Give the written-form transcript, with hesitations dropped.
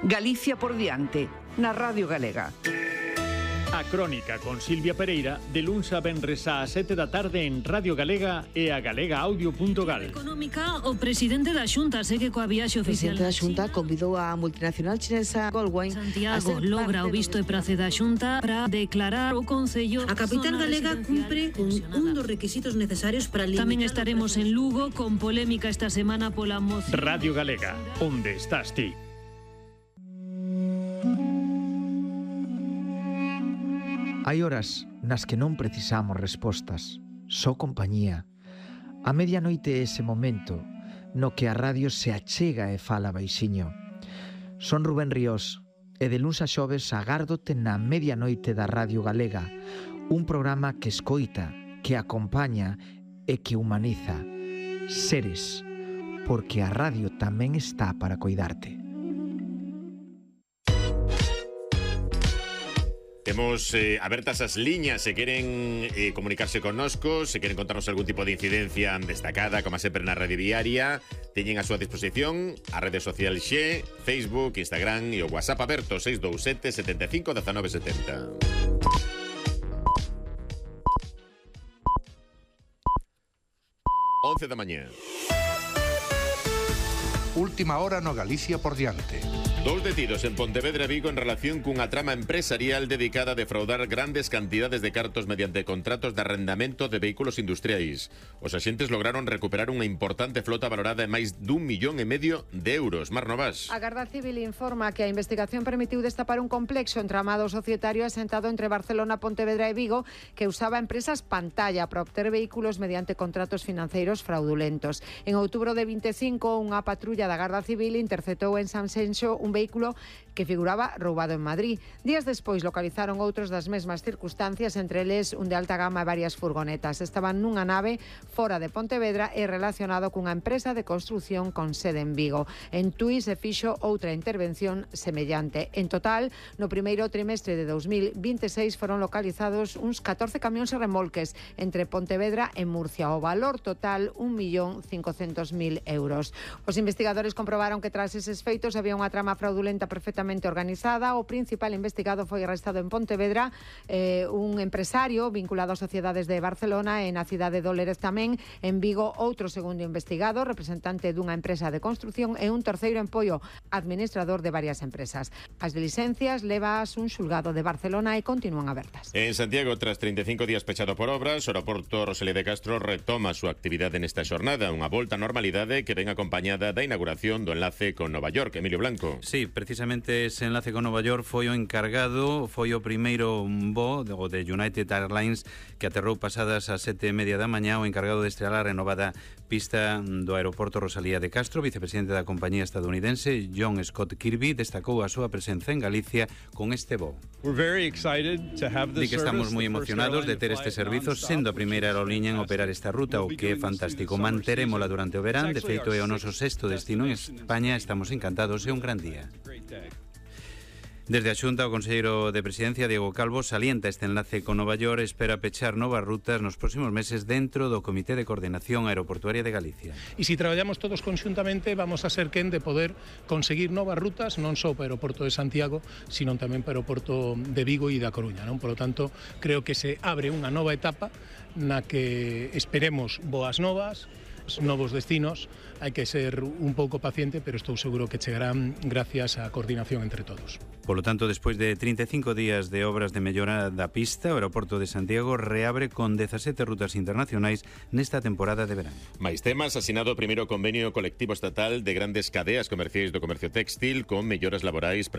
Galicia por diante, na Radio Galega. A Crónica con Silvia Pereira, de luns a venres á 7 da tarde en Radio Galega e a galegaaudio.gal. Económica, o presidente da Xunta segue coa viaxe oficial. O presidente da Xunta convidou a multinacional chinesa Goldwine. Santiago logra o visto e prace da Xunta para declarar o Concello. A capital galega cumpre con un dos requisitos necesarios para limitar. Tamén estaremos en Lugo con polémica esta semana pola moción. Radio Galega, onde estás ti? Hai horas nas que non precisamos respostas, só compañía. A medianoite é ese momento no que a radio se achega e fala baixiño. Son Rubén Ríos e de luns a xoves agárdote na medianoite da Radio Galega, un programa que escoita, que acompaña e que humaniza. Seres, porque a radio tamén está para coidarte. Temos abertas as liñas se queren comunicarse connosco, se queren contarnos algún tipo de incidencia destacada, como sempre na Radio Diaria. Teñen a súa disposición a rede social Xe, Facebook, Instagram e o WhatsApp aberto 627 75 19 70. 11 da mañá. Última hora no Galicia por diante. 2 detidos en Pontevedra, Vigo, en relación cunha trama empresarial dedicada a defraudar grandes cantidades de cartos mediante contratos de arrendamento de vehículos industriais. Os axentes lograron recuperar unha importante flota valorada en máis d'1,5 millón de euros. Mar Novas. A Garda Civil informa que a investigación permitiu destapar un complexo entramado societario asentado entre Barcelona, Pontevedra e Vigo que usaba empresas pantalla para obter vehículos mediante contratos financeiros fraudulentos. En outubro de 25, unha patrulla da Garda Civil interceptou en Sanxenxo un vehículo que figuraba roubado en Madrid. Días despois localizaron outros das mesmas circunstancias, entre eles un de alta gama e varias furgonetas. Estaban nunha nave fora de Pontevedra e relacionado cunha empresa de construción con sede en Vigo. En Tui se fixo outra intervención semellante. En total, no primeiro trimestre de 2026 foron localizados uns 14 camións e remolques entre Pontevedra e Murcia. O valor total, 1.500.000 euros. Os investigadores comprobaron que tras eses feitos había unha trama fraudulenta perfectamente organizada. O principal investigado foi arrestado en Pontevedra, un empresario vinculado a sociedades de Barcelona e na cidade de Óleres tamén. En Vigo, outro segundo investigado, representante dunha empresa de construción, e un terceiro en Poio, administrador de varias empresas. As diligencias levas un xulgado de Barcelona e continúan abertas. En Santiago, tras 35 días pechado por obras, o aeroporto Rosalía de Castro retoma a súa actividade nesta xornada, unha volta á normalidade que ven acompañada da inauguración do enlace con Nova York. Emilio Blanco. Sí, precisamente ese enlace con Nova York foi o encargado, foi o primeiro voo de United Airlines que aterrou pasadas as 7:30 da mañá, o encargado de estrear a renovada pista do aeroporto Rosalía de Castro. Vicepresidente da compañía estadounidense John Scott Kirby destacou a súa presenza en Galicia con este voo. Di que estamos moi emocionados de ter este servizo sendo a primeira aerolínea en operar esta ruta, o que é fantástico. Manterémola durante o verán, de feito é o noso sexto destino en España, estamos encantados, é un gran día. Desde a Xunta, o conselleiro de Presidencia, Diego Calvo, salienta este enlace con Nova York, espera pechar novas rutas nos próximos meses dentro do Comité de Coordinación Aeroportuaria de Galicia. E se traballamos todos conxuntamente, vamos a ser quen de poder conseguir novas rutas, non só para o aeroporto de Santiago, sino tamén para o aeroporto de Vigo e da Coruña, non? Por lo tanto, creo que se abre unha nova etapa na que esperemos boas novas, novos destinos. Hai que ser un pouco paciente, pero estou seguro que chegarán gracias á coordinación entre todos. Polo tanto, despois de 35 días de obras de mellora da pista, o aeroporto de Santiago reabre con 17 rutas internacionais nesta temporada de verán. Mais temas, asinado o primeiro convenio colectivo estatal de grandes cadeas comerciais do comercio textil con melloras laborais para